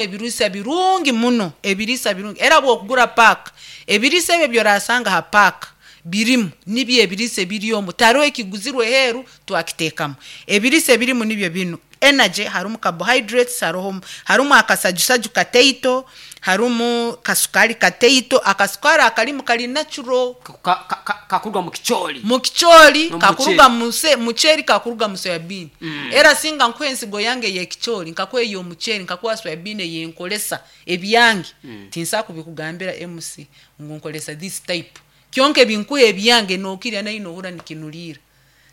Ebiriisa birungi muno, ebiriisa birungi. Era bw'okugura paaka, ebiriisa ebi ebi oraasanga ha paaka birimu, nibyo ebiriisa ebiri omu, tihariho ekiguzirwe aheeru twakiteekamu. Ebiriisa ebirimu nibyo binu, energy, harimu carbohydrates, haroho harimu akasajusaju kataito, harimu kasukaari kataito, akasukaari akarimu kari natural. Ka, ka, ka, kakuruga mu kicoori. Mu kicoori, N'omu kakuruga muceeri. mu se muceeri, kakuruga mu soya bean. Era singa nkuha ensigo yange ey'ekicoori, nkakuha ey'omuceeri, nkakuha soya bean eyinkoresa, ebyange, tinsobola kubikugambira MC ngu nkoresa this type. Kyonka ebi nkuha ebyange nookirya naiwe noohurra nikinuriira.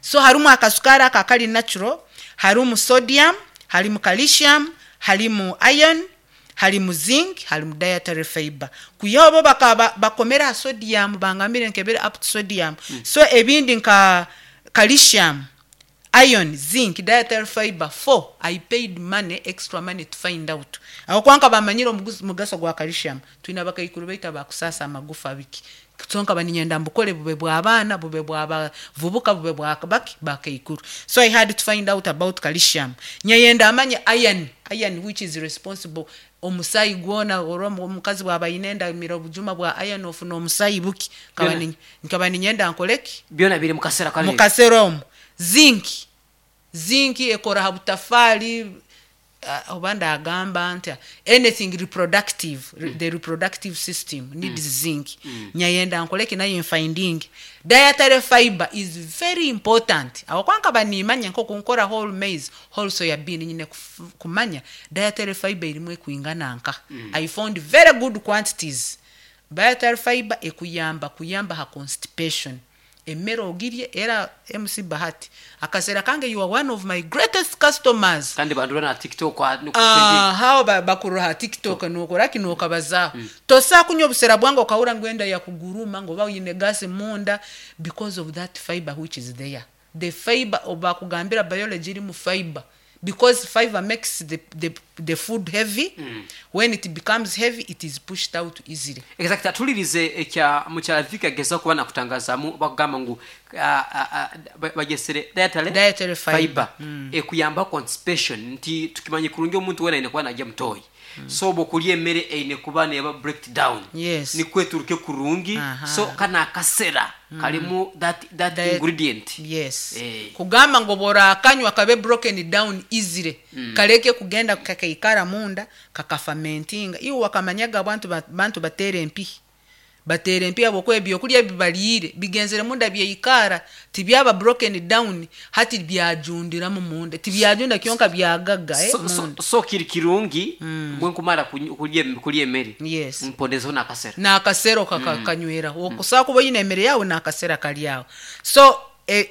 So harimu akasukaari ako akari natural, harimu sodium, harimu calcium, harimu iron, harimu zinc, harimu dietary fibre. Kwihaho bo bakaba bakomire aha sodium, bangambire nkebere up to sodium. So ebindi nka calcium, iron, zinc, dietary fibre, four, I paid money, extra money to find out. Ahabw'okuba nkaba manyire omugaso gwa calcium. Twine abakaikuru baitu abakusaasa amagufa biki. So nkaba niinyenda mbukore bube bw'abaana, bube bw'abavubuka, bube bwa baki, bakaikuru. So I had to find out about calcium. Nyayenda manye iron, iron which is responsible omusaayi gwona oraba omukazi bwaba aine enda amira obujuma bwa iron ofuna omusaayi buki. Nkaba Byona. ni nkaba niinyenda nkore ki? Byona biri mu kasera Mu kanu. kasera omu. Zinc, zinc ekora ha butafaari, oba ndagamba nta, anything reproductive, the reproductive system needs zinc. Nyayenda nkore ki nayo nfindinge. Dietary fibre is very important ahabw'okuba nkaba niimanya nk'oku nkora whole maize, whole soya bean, nyine kumanya dietary fibre erimu ekwingana nka. I found very good quantities. Dietary fibre ekuyamba kuyamba ha constipation. Emere ogirye, era MC Bahati, akaseera kange you are one of my greatest customers. Kandi bandora na TikTok ah, nuku trending. Aha, bakurora ha TikTok nookora ki nookabazaaho. Tosobola kunywa obusera bwange okahurra ngu enda yakuguruma ngu oba oine gas munda because of that fibre which is there. The fibre obu bakugambira biology erimu fibre because fibre makes the, the, the food heavy, when it becomes heavy it is pushed out easily. Exactly. Atulirize ekya mukyala Vicky agezaho kuba nakutangazaamu bakugamba ngu ah, ah, ah, bagyesere dietary, Dietary fibre. fibre ekuyambaho constipation nti tukimanye kurungi omuntu weena aine kuba narya mutoyi so obu okurya emere eine kuba neeba breaked down nikwo eturuke kurungi so kanu akasera karimu that, that ingredient. Yes. Eh. Kugamba ngu obu orakanywa kabe broken down easily, kareke kugenda kakaikara munda kakafermentinga. Iwe wakamanyaga abantu bantu bateera empihi, bateera empihi ahabw'okuba ebyokurya ebi bariire bigenzire munda byaikara, tibyaba broken down, hati byajundiramu munda. Tibyajunda kyonka byagaga So, so, munda. so kiri kirungi bwenkumara kurya kurya emere mpondezeho n'akasera. N'akasero kakanyweraho. Okusobola kuba oine emere yaawe n'akasera kari aho. So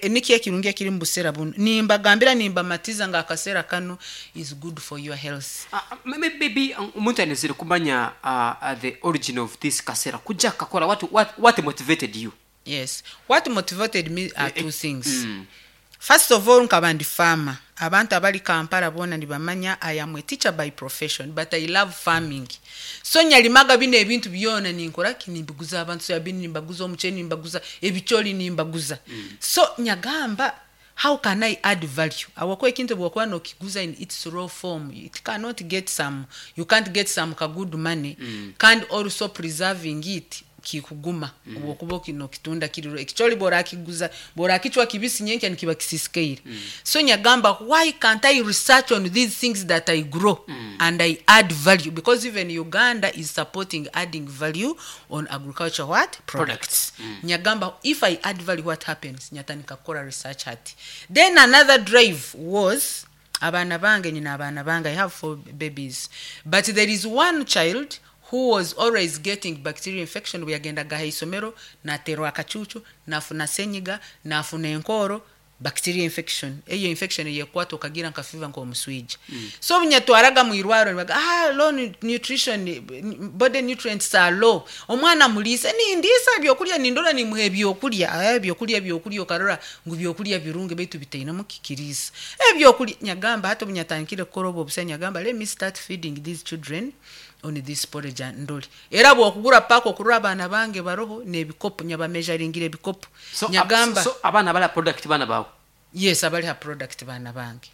nikyo ekirungi ekiri omu busera bunu. Nimbagambira nimbamatiza ngu akasera kanu is good for your health. Maybe omuntu ainezire kumanya the origin of this kasera kuja kukakora what, what, what motivated you? Yes. What motivated me are two things. First of all nkaba ndi farmer. Abantu abari Kampala boona nibamanya I am a teacher by profession but I love farming. So nyarimaga binu ebintu byona ninkora ki? Nimbiguza abantu soya bean nimbaguza, omuceeri nimbaguza, ebicoori nimbaguza. So nyagamba how can I add value? Ahabw'okuba ekintu obu orikuba nokiguza in its raw form it cannot get some, you can't get some ka good money kandi also preserving it kikuguma obu orikuba nokitunda kiri raw. Ekicoori obu orakiguza, obu orakicwa kibisi nyenkya nikiba kisisikaire. So nyagamba why can't I research on these things that I grow and I add value because even Uganda is supporting adding value on agriculture what? Products. Nyagamba if I add value what happens? Nyatandika kukora research hati. Then another drive was abaana bange, nyine abaana bange, I have four babies but there is one child who was always getting bacterial infection obu yagendaga aha isomero nateerwa akacuucu, nafuna senyiga, nafuna enkooro, bacterial infection. Eyo infection eyekukwata okagira nka fever nk'omuswija. So obu nyatwaraga mu irwariro nibaga ah low nutrition, body nutrients are low. Omwana muriise, nindiisa ebyokurya nindora nimuha ebyokurya, ah ebyokurya ebyokurya okarora ngu byokurya birungi beitu bitainemu ki kiriisa. Ebyokurya nyagamba hati obu nyatandikire kukora obu obusa nyagamba let me start feeding these children on this porridge ndore. Era bwokugura paaka okurora abaana bange baroho n'ebikopo nyabamejaringira ebikopo. So, Nyagamba. so abaana abari aha product baana baawe? Yes, abari ha product baana bange.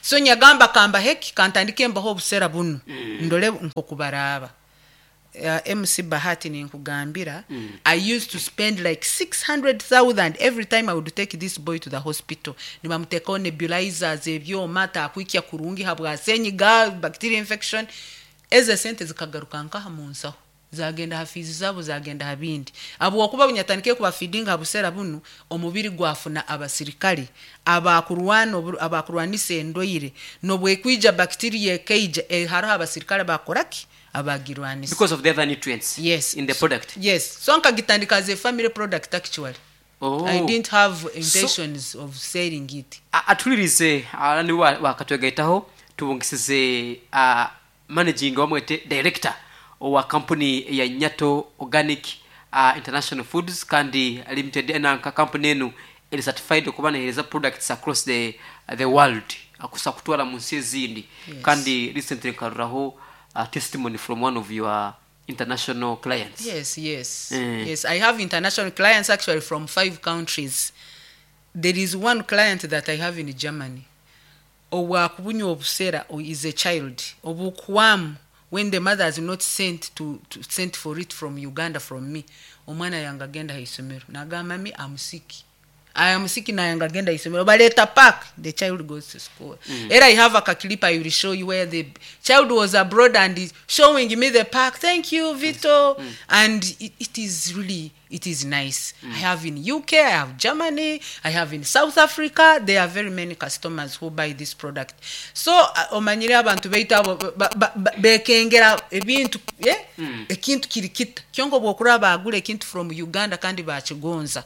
So nyagamba kambaheki kantandike mbaho obusera bunu, ndole nkokubaraaba. MC Bahati, ninkugambira, I used to spend like 600,000 every time I would take this boy to the hospital. Nibamuteekaho nebulizers, ebyoma, takwikya kurungi habwa senyiga, bacteria infection. Ezo sente zikagaruka nkaha mu nsaho, zagenda ha fees zabo, zagenda ha bindi, habwokuba bunyatandike kubafeedinga ha busera bunu, omubiri gwafuna abasirikale abakurwana abakurwanisa endwaire. Nobwekwija bacteria ekaija, hariho abasirikale bakoraki, abagirwanisa. Because of the other nutrients Yes. in the product. Yes, so nkagitandika as a family product actually. Oh. I didn't have intentions of selling it. Atulirize niwe wakatwegaitaho, tubungisize managing, wamwete director owa company ya Nyato Organic International Foods kandi Limited. Enanka company enu eri certified okuba nehereza products across the world, akusa kutwara mu nsi ezindi. Kandi recently nkaruraho testimony from one of your international clients. Yes. Yes, I have international clients actually from five countries. There is one client that I have in Germany. Owakubunywa obusera is a child. Obukuwamu when the mother has not sent for it from Uganda from me. Omwana yange agenda haisomero. Nagamba, "Me, I'm sick. I am sick," naye agenda isomero. Baleta pack, the child goes to school. Era I have a clip I will show you where the child was abroad and is showing me the pack. "Thank you, Vito." And it is really, it is nice. I have in UK, I have Germany, I have in South Africa. There are very many customers who buy this product. So omanyire abantu baitu abo bekengera ebintu, yeah? Ekintu kiri kita kyonko bwokuraba bagula ekintu from Uganda kandi bakigonza,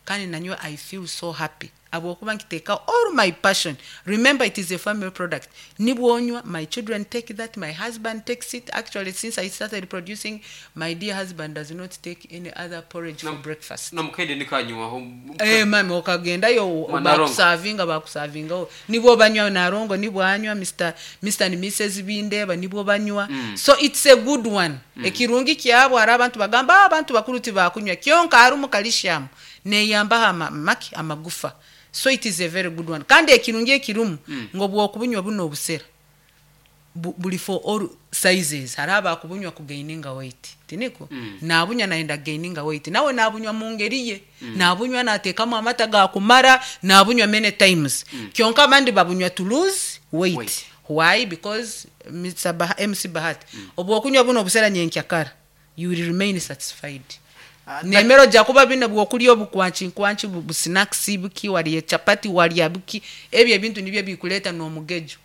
kandi nanywe I feel so happy abwokuba nkiteeka all my passion. Remember, it is a family product. Nibwonywa, my children take that, my husband takes it. Actually, since I started producing, my dear husband does not take any other porridge for breakfast. Nomukaide nikanywaho. Eh, mami, okagendayo. Manarongo. Bakusavinga, bakusavingaho, nibwo banywa narongo, nibwo anywa Mr and Mrs Bindeba, nibwo banywa. So it's a good one. Ekirungi kyabo, hari abantu bagamba, "Ah, abantu bakuru tibakunywa," kyonka harimu calcium neyambaho maki amagufa. So it is a very good one. Kandi ekirungi ekirimu ngo bwokubunywa buno obusera buli for all sizes. Hariho abakubunywa kugaininga weight, tiniko nabunywa nayenda gaininga weight, nawe nabunywa mu ngeri ye, nabunywa nateekamu amata gakumara, nabunywa many times. Kyonka abandi babunywa to lose weight. Weight. Why? Because Mr. MC Bahati, obwokunywa buno obusera nyenkyakara, you will remain satisfied. Nemero jakuba bino bwokulya obukwanchi nkwanchi, busnacks buki, walya chapati, walya buki, ebyo ebintu nibyo bikuleta n'omugejo.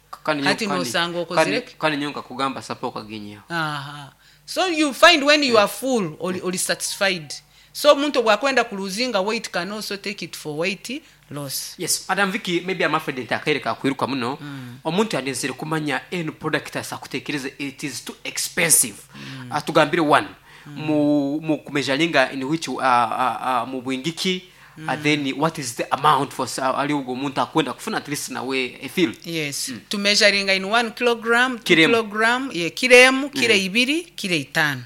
Hati nosanga okozireke. Kandi nyo nkakugamba sapa okagenyeho. Aha. So you find when you are full, oli satisfied. So omuntu bwakwenda kuluzinga weight can also take it for weight loss. Yes, Madam Vicky, maybe I'm afraid nti akaire kakwiruka muno. Omuntu yandenzere kumanya eno product asakutekereza it is too expensive. Atugambire one mu kumeasuringa in which mu bwingiki, then what is the amount for ali ubwo omuntu akwenda kufuna at least nawe a feel. Yes, tumeasuringa in 1 kilogram, 2 Kiremu. kilogram, ye kiremu, kilo 2, kilo 5.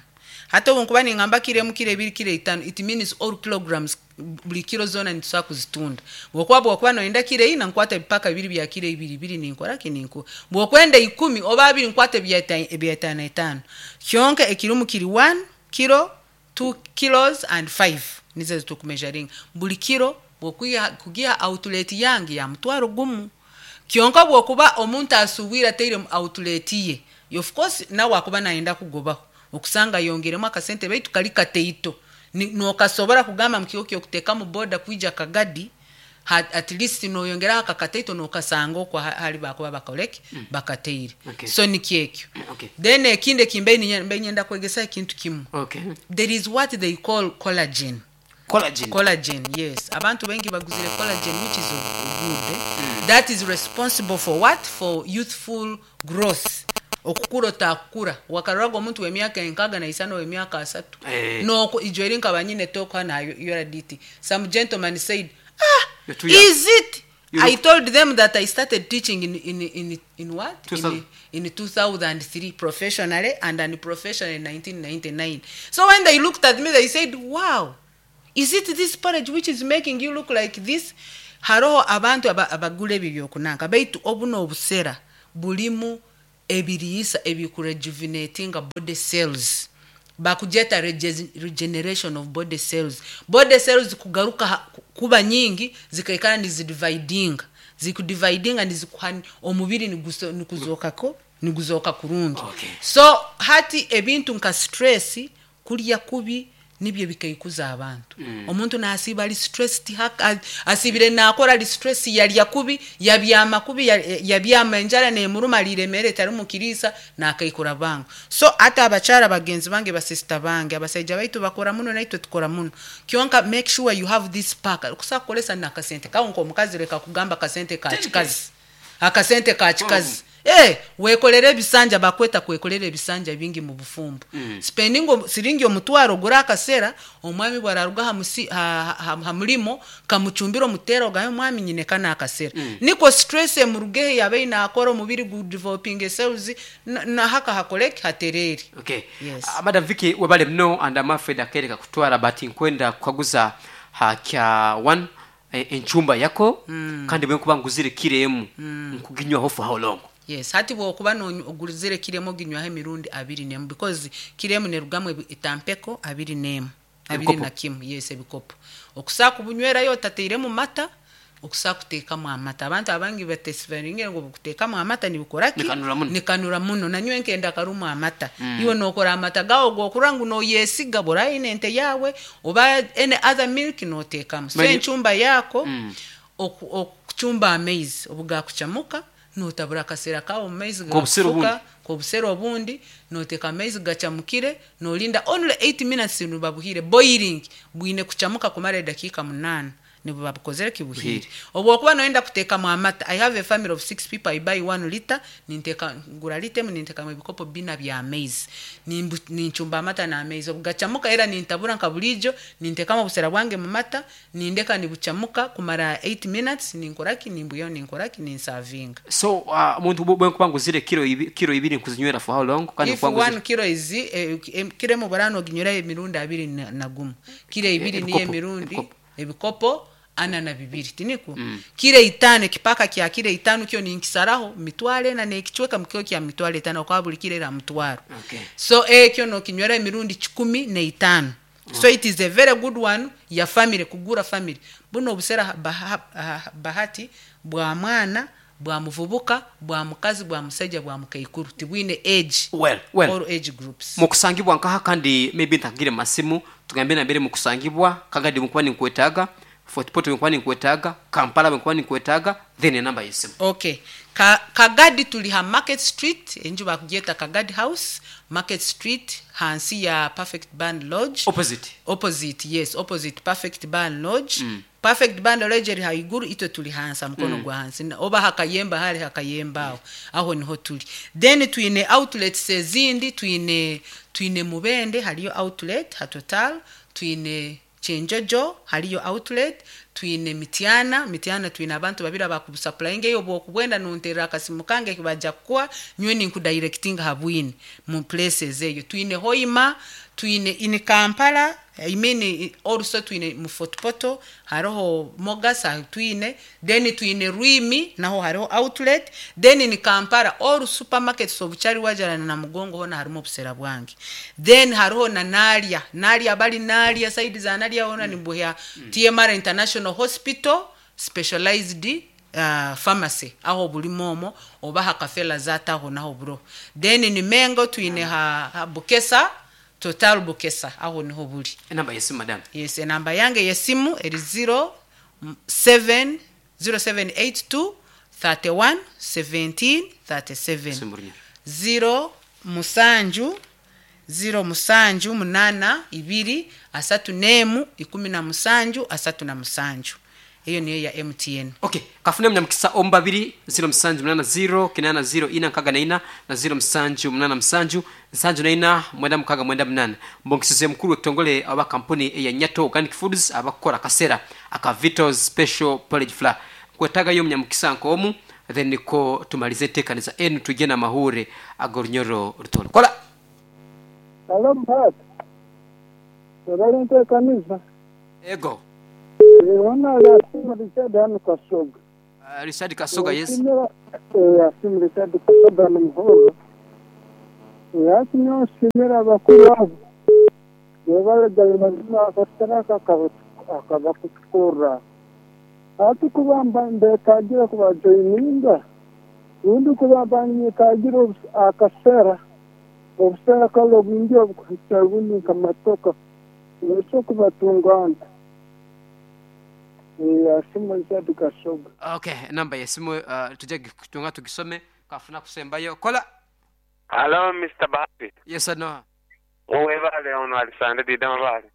Hata ubu nkuba ningamba kiremu, kilo 2, kilo 5, it means all kilograms, buli kilo zona nitusobola kuzitunda. Bwokuba noyenda kilo 4, nkwata ebipaka bibiri bya kilo 2 2, ninkora ki, ninku bwokwenda 10 oba 20, nkwata ebya 5 5. Kyonka ekirimu kiri 1 kilo, 2 kilos and 5, nizo zitukumeasuringa buli kilo. Bwokwiha kugiha outlet yange ya 100,000. Kyonka bwokuba omuntu asuubwire ateire mu outlet ye, of course nawe akuba nayenda kugobaho, okusanga yongeremu akasente, baitu kali kateito. Nokasobora kugamba mukigo kyokuteeka mu boda kwija Kagadi, at least noyongeraho akakateito, nokasanga okwo hali bakuba bakoleki, bakateire. So nikyekyo. Then ekindi ekimbe mbe nyenda kwegesa ekintu kimu. There is what they call collagen. Collagen. Collagen, yes. Abantu bengi baguzire collagen, which is good, eh? That is responsible for what? For youthful growth, okukura otakukura wakaruraga omuntu w'emyaka 65, w'emyaka 30. Noko ijo eri nkaba nyine talk hano URDT, some gentleman said, "Ah, You're too young." is it?" You I told them that I started teaching in what? 2000. In 2003 professionally, and unprofessionally in 1999. So when they looked at me, they said, "Wow, is it this porridge which is making you look like this?" Haroho abantu aba abagura ebyo ebyokunanka baitu obu n'obusera burimu ebiriisa ebikurejuvenatinga body cells. Bakugyeta regeneration of body cells. Body cells kugaruka ha kuba nyingi zikaikara nizidividinga. Zikudividinga nizikuha omubiri niguso niguzoka niguzooka kurungi. Okay. So hati ebintu nka stress, kurya kubi nibyo bikaikuza abantu. Omuntu nasiiba ari stressed, asiibire nakora ari stress, yarya kubi, yabyama kubi, yabyama enjara nemuruma, ariire emere etarimu kiriisa, nakaikura bwangu. So hati abakyara bagenzi bange, ba sister bange, abasaija baitu bakora muno naitwe tukora muno. Kyonka make sure you have this pack. Okusobola kukoresa nakasente kawe nk'omukazi reka kugamba akasente ka kikazi. Akasente ka kikazi. Eh, wekolere ebisanja bakweta kwekolera ebisanja bingi mu bufumbo. Spending siringi 1000 ogure akasera, omwami bwararuga ha, musi, ha, ha, ha murimo kamucumbira omutera ogambe omwami nyine kana akasera. Niko stress emurugeho yabe nakora omubiri gu developing cells na haka hakoreki haterere. Okay. Yes. Madam Vicky webale muno and I'm afraid akereka kutwara but nkwenda kukaguza ha kya one enchumba yako kandi bwe nkuba nguzire kiro emu nkuginywaho for how long? Yes, hati bwokuba ogurizire kiro emu oginywaho emirundi 21 because kiro emu nerugamu etampeko 21. Abiri Ebikopo. na kimu, yes, ebikopo. Okusobola kubunywerayo otateiremu mata, okusobola kuteekamu amata. Abantu abangi batesibaringe ngu kuteekamu amata nibikora ki? Nikanura muno. Nikanura muno. Nanywe nkenda karumu amata. Iwe nokora amata gawe gokura ngu noyesiga bora ine ente yawe oba any other milk noteekamu. So enchumba yako okuchumba amaizi obugakuchamuka notabura akasera kawe omu maizi K'obusera gakufuka obundi. K'obusera obundi noteeka amaizi gachamukire nolinda only 8 minutes nibuba buhiire. Boiling bwine kuchamuka kumara edakiika 8 nibuba bukozire ki buhiire. Buhiire. Obwokuba noyenda kuteekamu amata, I have a family of 6 people, I buy 1 liter, ninteka ngura lita emu nintekamu ebikopo bina by'amaizi. Ninchumba amata n'amaizi obugachamuka era nintabura nka buriijo nintekamu obusera bwange mu mata nindeka nibuchamuka kumara 8 minutes ninkoraki nimbwihaho ninkoraki ninsavinga. So omuntu bwe nkuba nguzire kiro kiro ibiri nkuzinywera for how long? Kandi If nkuba nguzire 1 kilo is kiro emu burano oginyweraho emirundi 21. Kiro ibiri niyo Ebikopo, emirundi ebikopo. Ebikopo 42 tiniko? Kiro 5 ekipaka kya kiro 5 kyo ninkisaraho 400 n'ekicweka mukiro kya 500 kwa buri kiro era 100. Okay. So ekyo nokinywera emirundi 105. So it is a very good one ya family, kugura family. Buno obusera bahati bwa mwana, bwa muvubuka, bwa mukazi, bwa musaija, bwa mukaikuru. Tibwine age. Well, well. All age groups. Mukusangibwa nkaha kandi maybe ntakagire masimu tugambe nambere mukusangibwa kagadi nkuba ninkwetaaga Fort Portal nkuba ninkwetaaga Kampala nkuba ninkwetaaga then enamba y'esimu. Okay. Kagadi tuli ha Market Street, enju bakugyeta Kagadi House, Market Street hansi ya Perfect Band Lodge. Opposite. Opposite, yes, opposite Perfect Band Lodge. Perfect Band Lodge eri haiguru itwe tuli hansi mukono gwa hansi. Oba hakayemba hari hakayemba aho. Aho niho tuli. Then twine outlets ezindi twine Mubende hariyo outlet ha Total, twine Kyenjojo hariyo outlet, twine Mityana, Mityana twine abantu babiri abakusupplyinga eyo bwokubwenda nonterera akasimu kange kibaja kukuha nywe ninkudirectinga habwine mu places eyo. Twine Hoima, twine in Kampala, I mean also twine mu Fort Portal, hariho Mogas twine, then twine Rwimi naho hariho outlet, then in Kampala all supermarkets of Kyaliwajjala na Namugongo hona harimu obusera bwange. Then hariho na Naalya, Naalya bali Naalya side za Naalya hona ni buhya TMR International Hospital specialized pharmacy aho bulimo omo oba hakafela zata aho naho buro. Then ni Mengo twine ha Bukesa, Total Bukesa aho niho buri. Enamba y'esimu madam. Yes, enamba yange y'esimu eri 0 7 0782 31 17 37. Simu runyoro. 0 musanju 0 musanju 8 2 31 17 37. Eyo niyo ya MTN. Okay, kafune munyamukisa omu babiri 0780 80 464 na 0787 74 96 98. Mbongisize mukuru w'ekitongole aba kampuni eya Nyato Organic Foods abakora kasera aka Vitos Special Porridge Flour. Kwetagayo munyamukisa nkomu then niko tumalize enteekaniza enu tujye n'amahure ag'orunyoro rutoro. Kola. Halo Mpata. Webale enteekaniza. Ego. Hona Asimu Richard hanu Kasoga. Richard Kasoga, yes. Asimu Richard Kasoga ni Muhorro. Hati nyowe nsiimire abakuru abo. Webale gali mazima akasara aka akabakutukorra. Hati kuba mba mbetagire kubajoininga rundi kuba mba ninyetagire akasera obusera kale obwingi obukuhikya rundi nkamatoka noso kubatunga nta. Asimu Richard Kasoga. Okay, namba yesimu tujja kutunga tugisome kafuna kusembayo. Kola. Hello Mr. Bahati. Yes no. Webale ono Alisande Dida Mabale.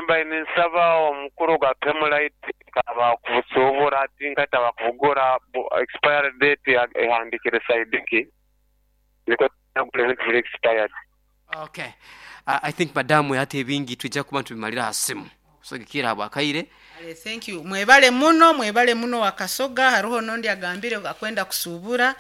Mbaire ninsaba omukuru gwa Pemulite kaba kubusuubura ati nkaita bakubugura expiry date ehandikire side ki nikwo tunagura ebintu biri expired. Okay. I think madamu hati ebingi twija kuba nitubimalira aha simu. Kusagikira habwa kaire. Ale, thank you. Mwebale muno, mwebale muno wakasoga haruho nondi agambire akwenda kusubura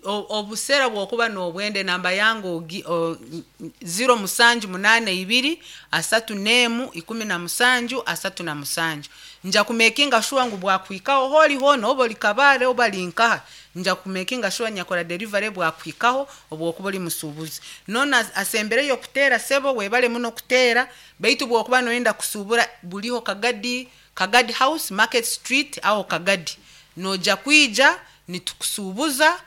obusera bwokuba n'obwende namba yange 0782 31 17 37 nja kumekinga sure ngu bwakwikaho holi hona oba oli Kabale oba linkaha nja kumekinga sure nyakora delivery bwakwikaho obwokuba oli musuubuzi nona asembereyo kuteera sebo webale muno kuteera baitu bwokuba noyenda kusubura buliho Kagadi, Kagadi House Market Street aho Kagadi noja kwija nitukusuubuza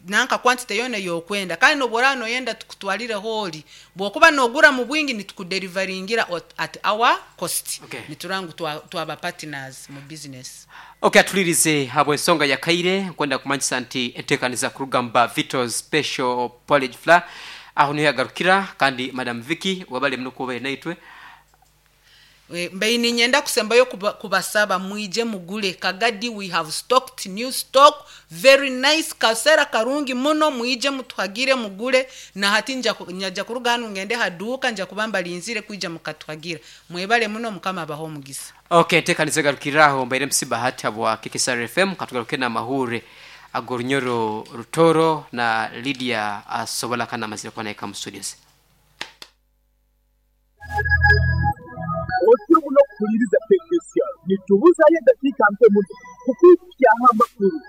nanka quantity yona yokwenda kandi nobora noyenda tukutwalire holi bwokuba nogura mu bwingi nitukudeliveringira at our cost. Okay. Niturangu twaba partners mu business. Okay, atulirize habwe ensonga ya kaire nkwenda kumanyisa nti enteekaniza kurugamba Vito Special Porridge Flour aho niho yagarukira kandi Madam Vicky wabale muno kuba naitwe. Mbaine ninyenda kusembayo kubasaba mwije mugule Kagadi, we have stocked new stock very nice kasera karungi muno, mwije mutuhagire mugule na hati njaja kuruga hanu ngende haduka nja kubamba linzire kwija mukatuhagira. Mwebale muno mukama abaho omugisa. Okay, nteekaniza garukiraho mbaire MC Bahati habwa KKSR FM katugaruke na mahure Agorunyoro Rutoro na Lydia asobola kana mazira kwa naika mu studios. Otyo muno kuhuliriza KKSR nitubuzayo eddakiika mpe muno kukwikyaho amakuru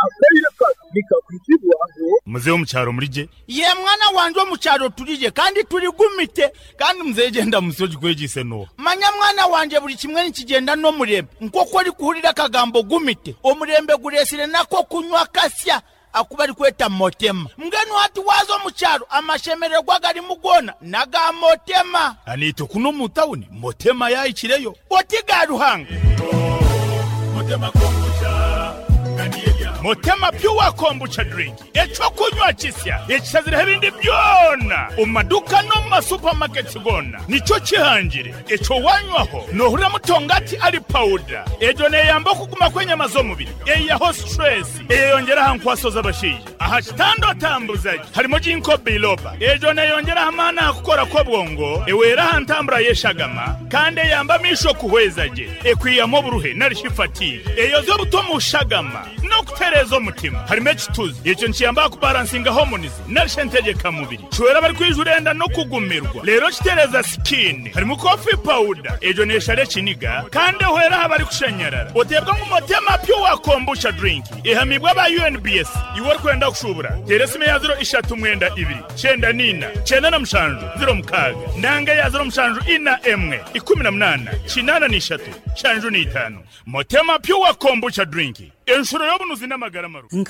akaire kano nikakwitibwaho. Muzehe omukyaro mulije? Ye mwana wanje omukyaro tulije kandi tuligumite kandi muzehe genda musoji kwegise no. Manya mwana wanje buli kimwe nikigenda n'omurembe nk'oku orikuhurira akagambo gumite omurembe guresire nako kunywa kasya akuba arikweta motema mbwenu hati waza omukyaro amashemererwa garimu gona naga motema. Anito kuno mu tawuni motema yayikireyo oti ga Ruhanga. Motema kombucha Motema pure kombucha drink eco kunywa kisya ekisazire ebindi byona omumaduka no mu masupermarkets gona nico kihangire eco wanywaho nohurira mutongati ari powder ejo neyamba okuguma kw'enyama z'omubiri eyaho stress eyeyongera aha nkwaso z'abashaija aha kitanda otambuzaje harimo ginkgo biloba ejo neyongera aha maani aha kukora kw'obwongo ewera aha ntambura y'eshagama kandi eyamba amisho kuhweza gye ekwiyamu oburuhe narishi fatigue eyoza obuto mu shagama n'okutereeza omutima harimo ekituzi ekyo nikiyamba kubalansinga hormones narishe entegeka-mubiri kiwera abari enda n'okugumirwa leero kitereeza skin harimo coffee powder ejo neshara ekiniga kandi ehwera aha barikushenyerera oteebwa ngu Motema pure kombucha drink ehamibwa aba UNBS iwe orikwenda kushubura teera esimu ya 039 94 97 06 nanga ya 07 41 18 83 75 Motema pure kombucha drink enshuro y'obunuzi n'amagara maru.